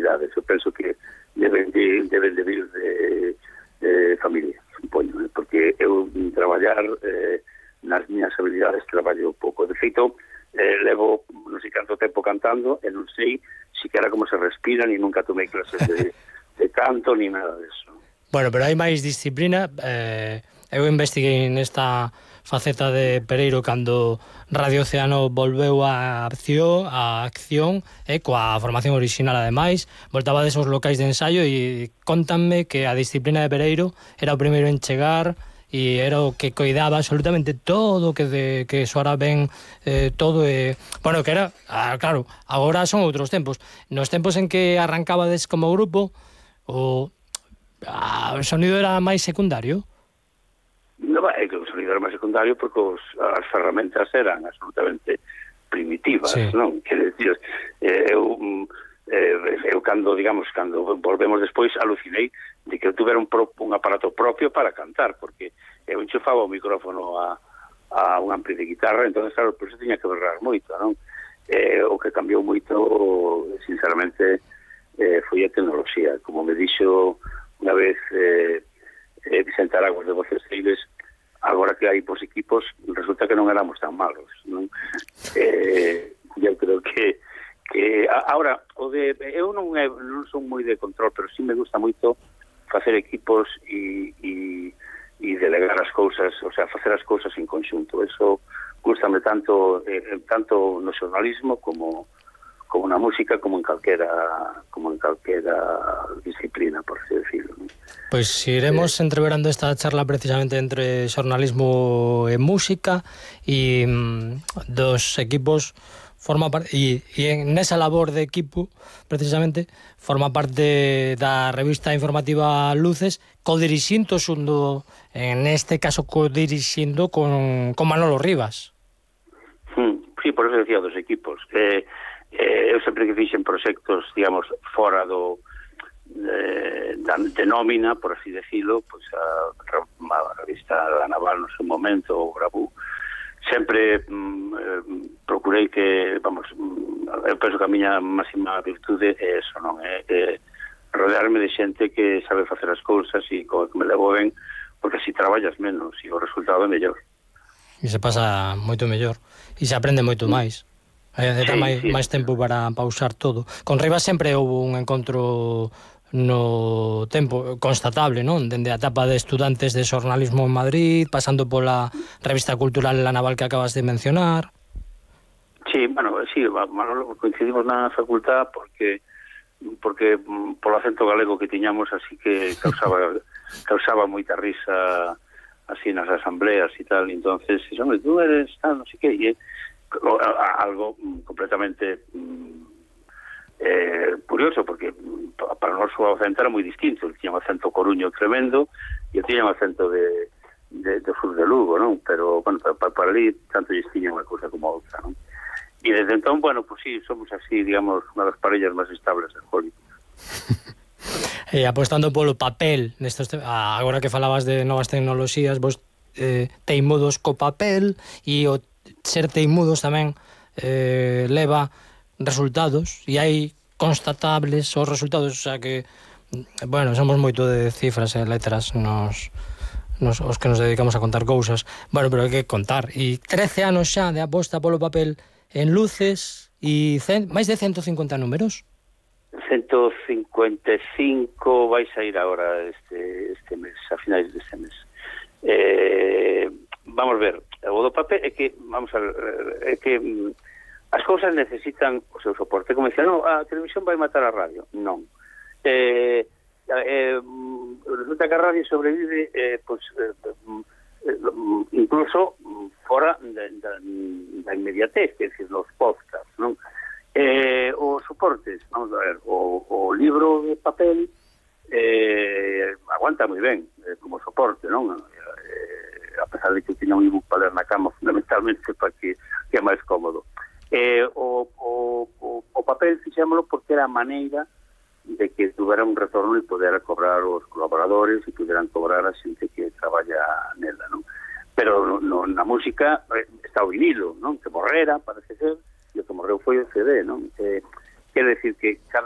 responsabilidades. Eu penso que deben de vir de familia, supoño, porque eu traballar nas miñas habilidades traballo pouco. De feito, levo non sei canto tempo cantando e non sei siquiera como se respira, ni nunca tomei clases de canto, ni nada deso. Bueno, pero hai máis disciplina. Eu investiguei nesta faceta de Pereiro cando Radio Océano volveu á acción coa formación orixinal ademais, voltaba desos locais de ensaio e contanme que a disciplina de Pereiro era o primeiro en chegar e era o que coidaba absolutamente todo, que soara ben todo, bueno, que era, claro, agora son outros tempos. Nos tempos en que arrancabades como grupo, o sonido era máis secundario? Non, é que o sonido era máis secundario porque as ferramentas eran absolutamente primitivas, sí. Non? Quer decir, eu cando volvemos despois alucinei de que eu tuvera un aparato propio para cantar, porque eu enchufaba o micrófono a un ampli de guitarra, entón, claro, por eso tiña que berrar moito, non? O que cambiou moito, sinceramente, foi a tecnoloxía. Como me dixo unha vez Vicente Araguas de Voces Ceibes, agora que hai pos equipos, resulta que non éramos tan malos, non? Eu creo que ahora, eu non son moi de control, pero sí me gusta moito facer equipos e delegar as cousas, o sea, facer as cousas en conxunto. Eso gustame tanto no xornalismo como na música, como en calquera disciplina, por así decirlo. Pois iremos entreverando esta charla precisamente entre xornalismo e música e dos equipos forma parte, e nesa labor de equipo precisamente forma parte da revista informativa Luces, codirixindo xundo, en este caso codirixindo con Manolo Rivas. Sí, por eso decía dos equipos. Eu sempre que fixen proxectos, digamos, fora de nómina, por así decirlo, pois a revista La Naval no seu momento, o Gravú, sempre procurei que, eu penso que a miña máxima virtude é eso, non? É rodearme de xente que sabe facer as cousas e que me levo ben, porque así traballas menos e o resultado é mellor. E se pasa moito mellor e se aprende moito máis. Dá máis tempo para pausar todo. Con Rivas sempre houve un encontro no tempo constatable, non? Dende a etapa de estudantes de xornalismo en Madrid, pasando pola revista cultural La Naval que acabas de mencionar. Sí, Manolo, coincidimos na facultad porque polo acento galego que tiñamos, así que causaba moita risa así nas asambleas e tal, entonces, tú eres tal, non sei que, e algo completamente curioso, porque para nós o acento era moi distinto. Tiña un acento coruño tremendo e tiña un acento de sur de Lugo, non? Pero, bueno, para ali tanto lles tiña unha cousa como outra, non? E desde entón, bueno, pues sí, somos así, digamos, unha das parellas máis estables de Hollywood. Apostando polo papel, agora que falabas de novas tecnoloxías, vos teimudos co papel, e o ser teimudos tamén leva resultados, e hai constatables os resultados, o sea que, bueno, somos moito de cifras e letras os que nos dedicamos a contar cousas, bueno, pero hai que contar, e 13 anos xa de aposta polo papel en Luces, e máis de 150 números. 155 vai sair agora este mes, a finais deste mes. Vamos ver, o do papel é que, as cousas necesitan o seu soporte. Como dicía, non, a televisión vai matar a radio. Non. Resulta que a radio sobrevive incluso fora da inmediatez, que é dicir, nos podcasts, non? Os soportes, vamos a ver, o libro de papel aguanta moi ben como soporte, non? A pesar de que tiña un ebook para ler na cama, fundamentalmente para que é máis cómodo. O papel fixémolo porque era a maneira de que tuvera un retorno e pudera cobrar os colaboradores e puderan cobrar a xente que traballa nela, non? Pero na música está o vinilo, non? Que morrera, parece ser, e o que morreu foi o CD, non? Quer decir que cada